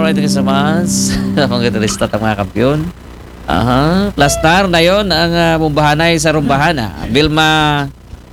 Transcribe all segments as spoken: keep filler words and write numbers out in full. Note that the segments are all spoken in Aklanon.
Thank you so much. Mga gitarista at mga kampiyon. Aha. Plastar na yon ang uh, mumbahanay sa rumbahan. Ah. Vilma,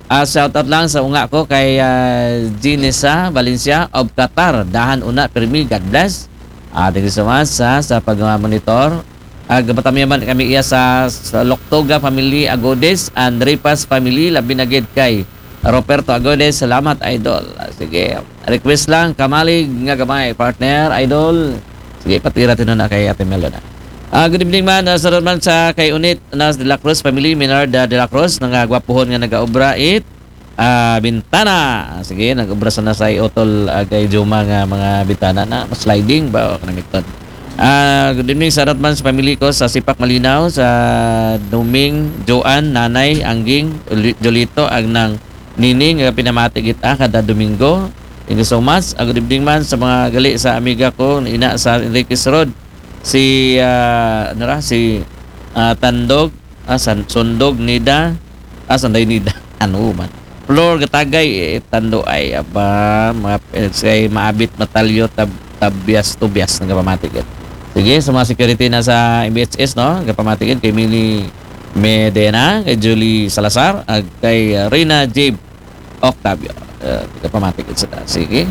uh, shout out lang sa unga ko kay uh, Ginesa Valencia of Qatar. Dahan una, permi. God bless. Ah, thank you so much ha, sa pag-monitor. Ah, gabatamyaman kami iya sa, sa Loktoga family, Agodes, and Ripas family, labi na gid kay Roberto Agodes. Salamat, idol. Ah, sige. Request lang, kamalig nga gamay, partner, idol. Sige, patira tino na kay Ate Melo na. Ah, good evening man, uh, sa man sa kay Unit na De La Cruz family, Minard uh, De La Cruz, nga gwapuhon nga nagaobra it ah, bintana. Ah, sige, nag-obra sa na sa utol ah, kay Juma nga mga bintana na sliding ba o kanamiton. Ah, good evening sa man sa pamilya ko sa Sipak Malinaw, sa Duming, Joan, Nanay, Angging, Jolito, ang nang Nining nga pinamati kita kada Domingo. Thank you so much. Ah, good evening man sa mga gali sa amiga ko ina sa Enriquez Road. Si uh, ano ra, si uh, Tandog, ah, San, Sundog, Nida, ah, Sanday Nida. Ano man. Flor Gatagay, eh, Tando ay, aba, mga, eh, say maabit, matalyo, tab, tabyas, tubyas, nagapamatigid. Sige, sa mga security na sa M B H S, no? Nagapamatigid kay Mili Medena, kay Julie Salazar, at kay uh, Rina J Octavio. Uh, nagapamatigid sa taas. Sige.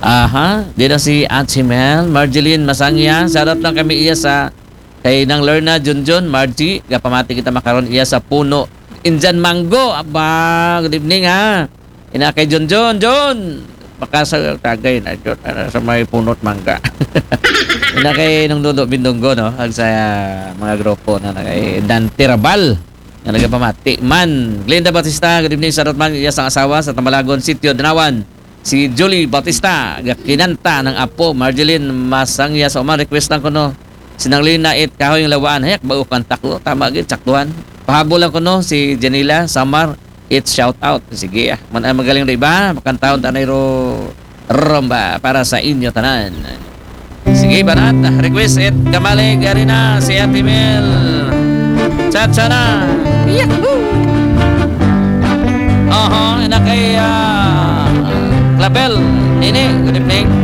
Aha, di na si Ate Mel, Marjeline Masangya, shoutout lang kami iya sa kay Nang Lerna Junjun, Margie, gapamati kita makaron iya sa puno. Indian mango, aba, good evening ha. Ina kay Junjun, Jun, baka sa tagay na Jun, ano, sa may punot mangga. Ina kay Nung Dudo Bindunggo, no? Ang sa mga grupo na na kay Dante Rabal, nga nagapamati man. Glenda Batista, good evening sa Rotman, iya sa asawa sa Tambalagon, Sitio Danawan. Si Julie Batista, gakinanta ng apo, Marjeline Masangya sa uman, request lang ko no. Sinanglina it kahoy ng lawaan, hayak ba kanta ko, tama gid, saktuhan. Pahabol lang ko no, si Janila Samar, it shout out. Sige ah, man ang magaling na iba, makantahon tanay ro, rumba para sa inyo tanan. Sige, banat, request it, kamalig, ari na, si Ate Mel. Cha-cha na. Yahoo! Oho, ina kay uh, Clavel. Ini, good evening.